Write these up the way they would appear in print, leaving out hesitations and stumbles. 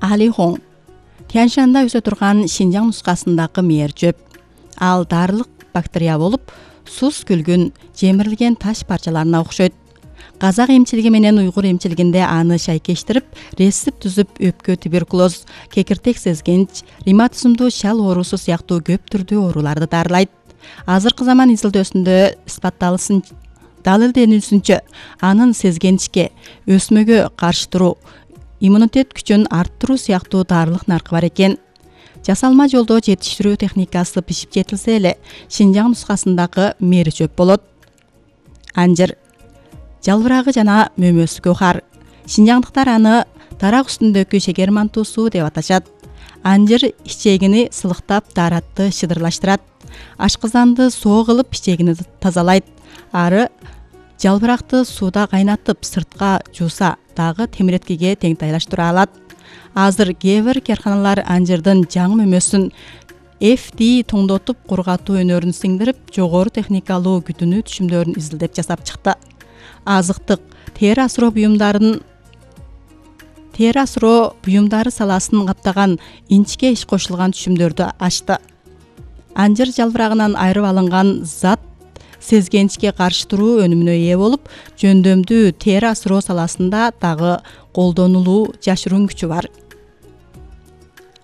Алихоң Тяньшанда өсө турган Шинжаң нускасындагы мээр жөп. Ал дарылык бактерия болуп, сус күлгүн, жемирилген таш парчаларына окшойт. Казак эмчилиги менен уйгур эмчилигинде аны шайкештирип, рецепт түзүп, өпкө туберкулоз, кекиртек сезгенч, ревматизмдуу шал оорусу сыяктуу көп түрдүү ооруларды дарылайт. Азыркы заман изилдөөсүндө далилденүүсүнчө, анын сезгенчке, өсмөгө каршы туруу, иммунитет күчүн арттыруу сыяктуу дарылык наркы бар экен. Жасалма жолдо жетиштирүү техникасы пишип жетилсе эле, Шинжаң нускасындагы мээр жөп болот. Анжыр жалбырагы жана мөмөсү көхар. Шинжаңдыктар аны дарак үстүндөгү шекер мантуусу деп аташат. Анжыр ичегини сылыктап, daarатты шыдырлаштырат. Ашкызанды соо кылып, ичегини тазалайт. Ары жалбыракты сууда кайнатып, сыртка жууса дагы темиреткиге теңтайлаштыра алат. Азыр кээ бир каарканалар анжырдын жаңы мөмөсүн FD тоңдотуп, кургатуу өнөрүн сиңдирип, жогору техникалуу күтүнүү түшүмдөрүн изилдеп жасап чыкты. Азыктык тери асыроо буюмдары саласын каптаган инчке иш кошулган түшүмдөрдү ачты. Анжыр жалбырагынан айырып алынган зат сезгенчке каршы туруу өнүмүнө ээ болуп, жөндөмдүү тери асыроо саласында дагы колдонулуу жашыруун күчү бар.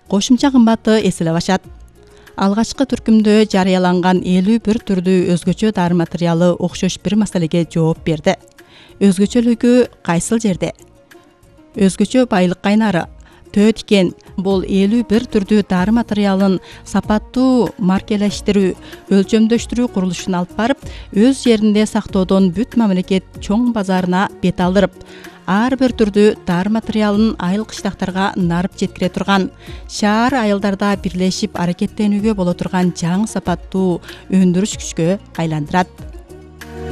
Кошумча кымбаты эселеп ашат. Алгачкы түркүмдө жарыяланган 51 түрдүү өзгөчө дары материалы окшош бир маселеге жооп берди. Өзгөчөлүгү кайсыл жерде? Өзгөчө байлык кайнары. Төө тикен бул 51 түрдүү дары материалын сапаттуу маркелештирүү, өлчөмдөштүрүү курулушун алып барып, өз жеринде сактоодон бүт мамлекет чоң базарына бет алдырып, ар бир түрдүү дары материалын айыл кыштактарга нарып жеткире турган, шаар айылдарда бирлешип аракеттенүүгө боло турган жаңы сапаттуу өндүрүш күчкө айландырат.